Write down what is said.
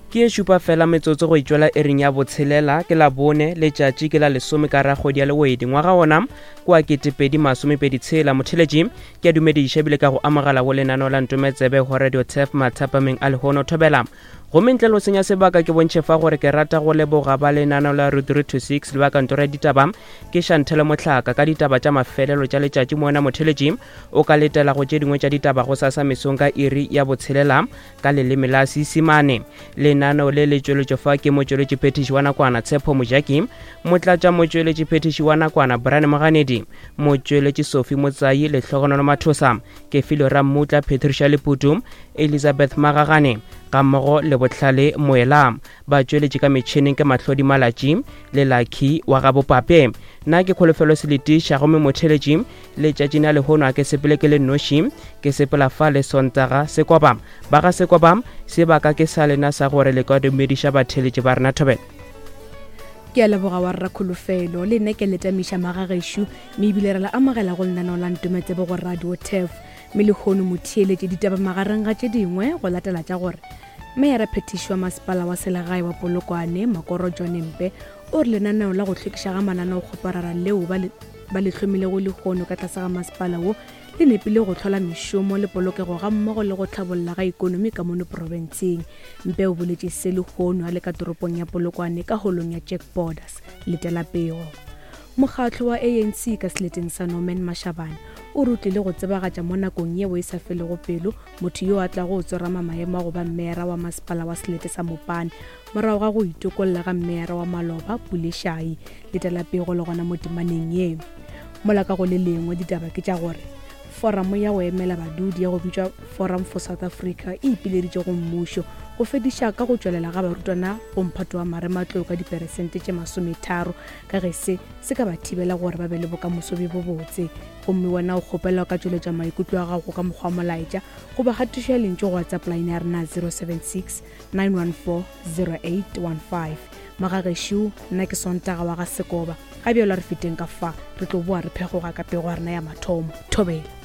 Ke ye šupa fela metsotso go itšwela iring ya botshelela, ke Labone, letšatši ke la lesome ka rakgwedi ya Lewedi, ngwaga wona ke wa 2026. Motheletši, ke a dumediša ebile ka go amogela go lenaneo la Ntometsebe go Radio Turf mathapameng a lehono. Thobela. Gomme ntle le go senya sebaka ke bontšhe fa gore ke rata go leboga ba lenaneo la Route 3 to 6 le ba kantoro ya ditaba ke Shantele Mohlaka ka ditaba tša mafelelo tša letšatši. Moena Motheletši, o ka letela go tše dingwe tša ditaba gosasa mesong ka iri ya botshelela ka leleme la Seisemane. Lenaneo le le tšweletšwe fa ke motšweletšiphethiši wa nakwana Tshepo Mojaki, motlatšamotšweletšiphethiši wa nakwana Brian Moganedi, motšweletši Sophie Motsai, Lehlogonolo Mathosa, Kefilwe Rammutla, Patricia Leputu, Elizabeth Magagane gammogo le Bohlale Moela. Batšweletši ka metšhineng ke Mahlodi Malatši le Lucky wa ga Bopape. Nna ke Kholofelo Seletiša gomme motheeletši Letšatšing la lehono a ke sepele ke le nnoši, ke sepela fa le Sontaga Sekoba. Ba ga Sekoba, sebaka ke sa lena sa gore le ka dumediša batheeletši ba rena thobela. Ke a leboga wa rra Kholofelo, le nna ke le tamiša magagešo, mme ebile re la amogela go lenaneo la Ntometsebe go Radio Turf. Mme lehono motheeletši ditaba magareng ga tše dingwe go latela tša gore Meyara Phethiši wa Masepala wa Selegae wa Polokwane, Makoro John Mpe, O re lenaneo la go hlwekiša ga mananeokgoparara leo ba le ba le hlomilego lehono ka tlase ga masepala wo le nepile go hlola mešomo le polokego gammogo le go hlabolla ga ikonomi ka mono profenseng. Mpe o boletše se lehono a le ka toropong ya Polokwane ka holong ya Jack Borders. Letela pego. Mokgatlo wa ANC ka seleteng sa Norman Mashabane o re o tlile go tsebagatša mo nakong yeo e sa felego pelo motho yo a tlago go tsorama maemo a go ba mmeara wa masepala wa selete sa Mopane Morago ga go itokolla ga mmeyara wa maloba, Pule Shai, letela pego le gona mo temaneng ye. Mola ka go le lengwe ditaba ke tša gore foramo ya go emela badudi ya go bitšwa Forum for South Africa e ipileditše go mmušo go fediša ka go tšwelela ga barutwana go mphato wa marematlou ka diperesente tše masometharo ka ge se se ka ba thibela gore ba be le bokamoso bjo bobotse. Gomme wena o kgopelwa ka tšweletša maikutlo a gago ka mokgwa wa molaetša goba kgatišo ya lentšu go WhatsApp line ya rena 076 9140815 Magagešo, nna ke Sontaga wa ga Sekoba. Ga bjalo a re feteng ka fa, re tlo boa re phegoga ka pego ya rena ya mathomo. Thobela.